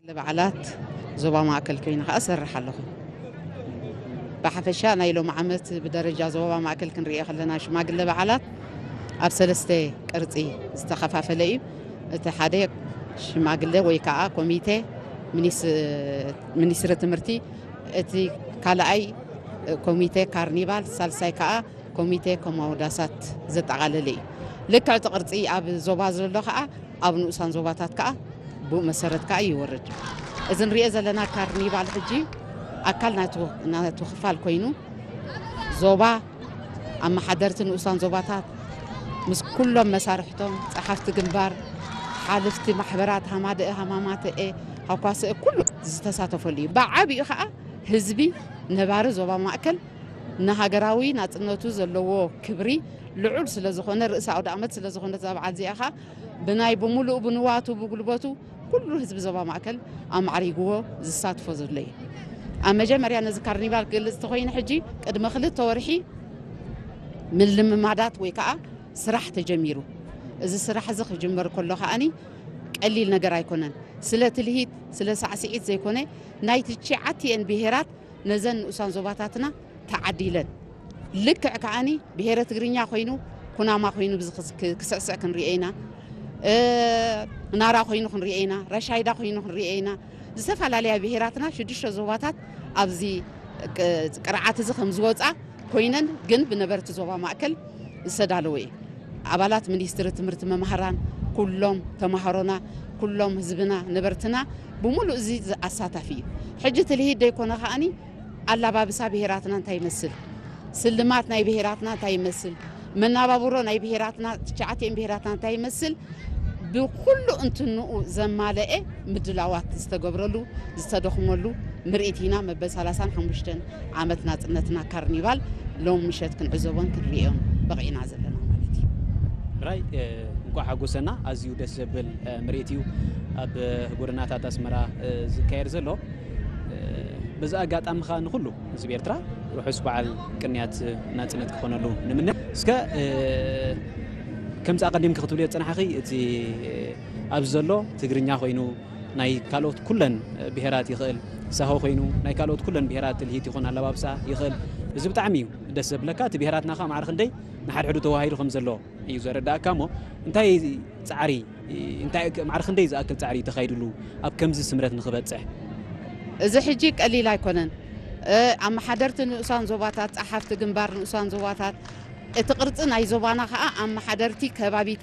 በዓላት ዞባ ማእከል ኮይነ ከኣ እሰርሕ ኣለኹ። ብሓፈሻ ናይ ሎሚ ዓመት ብደረጃ ዞባ ማእከል ክንሪኦ ከለና ሽማግለ በዓላት ኣብ ሰለስተ ቅርጺ ዝተኸፋፈለ እዩ። እቲ ሓደ ሽማግለ ወይ ከኣ ኮሚቴ ሚኒስ-፣ ሚኒስትሪ ትምህርቲ፣ እቲ ካልኣይ ኮሚቴ ካርኒቫል፣ ሳልሳይ ከኣ ኮሚቴ ኮማውዳሳት ዘጠቓለለ እዩ። ልክዕ እቲ ቅርጺ ኣብ ዞባ ዘሎ ከኣ ኣብ ንኡሳን ዞባታት ከኣ ብኡ መሰረት ከኣ ይወርድ። እዚ ንሪኦ ዘለና ካርኒቫል ሕጂ ኣካል ናቱ፣ ናቱ ክፋል ኮይኑ ዞባ ኣመሓደርቲ ንኡሳን ዞባታት ምስ ኩሎም መሳርሕቶም፣ ጸሓፍቲ ግንባር፣ ሓለፍቲ ማሕበራት ሃማደኤ፣ ሃማማተኤ፣ ሃኳሰኤ ኩሉ ዝተሳተፈሉ እዩ። ብዓቢኡ ከኣ ህዝቢ ነባሪ ዞባ ማእከል ንሃገራዊ ናጽነቱ ዘለዎ ክብሪ ልዑል ስለ ዝኾነ፣ ርእሰ ኣውደ ኣመት ስለ ዝኾነት እዛ በዓል እዚኣ ከኣ ብናይ ብምሉኡ ብንዋቱ ብጉልበቱ ኩሉ ህዝቢ ዞባ ማእከል ኣማዕሪግዎ ዝሳትፎ ዘሎ እዩ። ኣብ መጀመርያ ነዚ ካርኒቫል ክገልጽ ተኾይነ ሕጂ ቅድሚ ክልተ ወርሒ ምልምማዳት ወይ ከኣ ስራሕ ተጀሚሩ። እዚ ስራሕ እዚ ክጅመር ከሎ ከኣኒ ቀሊል ነገር ኣይኮነን። ስለ ትልሂት፣ ስለ ሳዕስዒት ዘይኮነ፣ ናይ ትሽዓቲኤን ብሄራት ነዘን ንኡሳን ዞባታትና ተዓዲለን። ልክዕ ከኣኒ ብሄረ ትግርኛ ኮይኑ፣ ኩናማ ኮይኑ ብዚ ክስ-፣ ክ-፣ ክስዕስዕ ክንሪኦ ኢና። እ፣ ናራ ኮይኑ ክንሪኦ ኢና። ረሻይዳ ኮይኑ ክንሪኦ ኢና። ዝተፈላለያ ብሄራትና ሽዱሽተ ዞባታት ኣብዚ ቅ-፣ ቅርዓት እዚ ከም ዝወጻ ኮይነን ግን ብነበርቲ ዞባ ማእከል ዝተዳለወ እዩ። ኣባላት ሚኒስትሪ ትምህርቲ፣ መማህራን፣ ኩሎም ተማሃሮና፣ ኩሎም ህዝብና፣ ነበርትና ብምሉእ እዚ ኣሳታፊ እዩ። ሕጂ ትልሂት ደይኮነ ከኣኒ ኣላባብሳ ብሄራትና እንታይ ይመስል፣ ስልማት ናይ ብሄራትና እንታይ ይመስል፣ መናባብሮ ናይ ብሄራትና፣ ትሽዓቲኤን ብሄራትና እንታይ ይመስል፣ ብኩሉ እንትንኡ ዘማለኤ ምድላዋት ዝተገብረሉ፣ ዝተደኽመሉ ምርኢት ኢና። መበል ሰላሳን ሓሙሽተን ዓመት ናጽነትና ካርኒቫል ሎም ምሸት ክንዕዘቦን ክንርእዮን በቒዕና ዘለና ማለት እዩ። ራይ፣ እ፣ እንኳዕ ሓጎሰና። ኣዝዩ ደስ ዘብል፣ እ፣ ምርኢት እዩ ኣብ፣ እ፣ ጎደናታት ኣስመራ፣ እ፣ ዝካየድ ዘሎ። እ፣ በዚ ኣጋጣሚ ኸኣ ንኹሉ ህዝቢ ኤርትራ ርሑስ በዓል ቅንያት ናጽነት ክኾነሉ ንምነ። እስከ፣ እ፣ ከምዚ ኣቐዲምኪ ክትብልዮ ዝጸናሕኺ፣ እቲ፣ እ፣ ኣብዚ ዘሎ ትግርኛ ኮይኑ ናይ ካልኦት ኩለን ብሄራት ይኽእል፣ ሳሆ ኮይኑ ናይ ካልኦት ኩለን ብሄራት ትልሂት ይኹን ኣለባብሳ ይኽእል። እዚ ብጣዕሚ እዩ ደስ ዘብለካ። እቲ ብሄራትና ኸኣ ማዕረ ክንደይ ንሓድሕዱ ተዋሂዱ ከም ዘሎ እዩ ዘረዳእካ። እሞ እንታይ ጻዕሪ፣ እንታይ ማዕረ ክንደይ ዝኣክል ጻዕሪ እዩ ተኻይድሉ ኣብ ከምዚ ስምረት ንኽበጽሕ? እዚ ሕጂ ቀሊል ኣይኮነን። እ፣ ኣመሓደርቲ ንኡሳን ዞባታት፣ ጸሓፍቲ ግንባር ንኡሳን ዞባታት፣ እቲ ቅርጺ ናይ ዞባና ኸኣ ኣመሓደርቲ ከባቢታት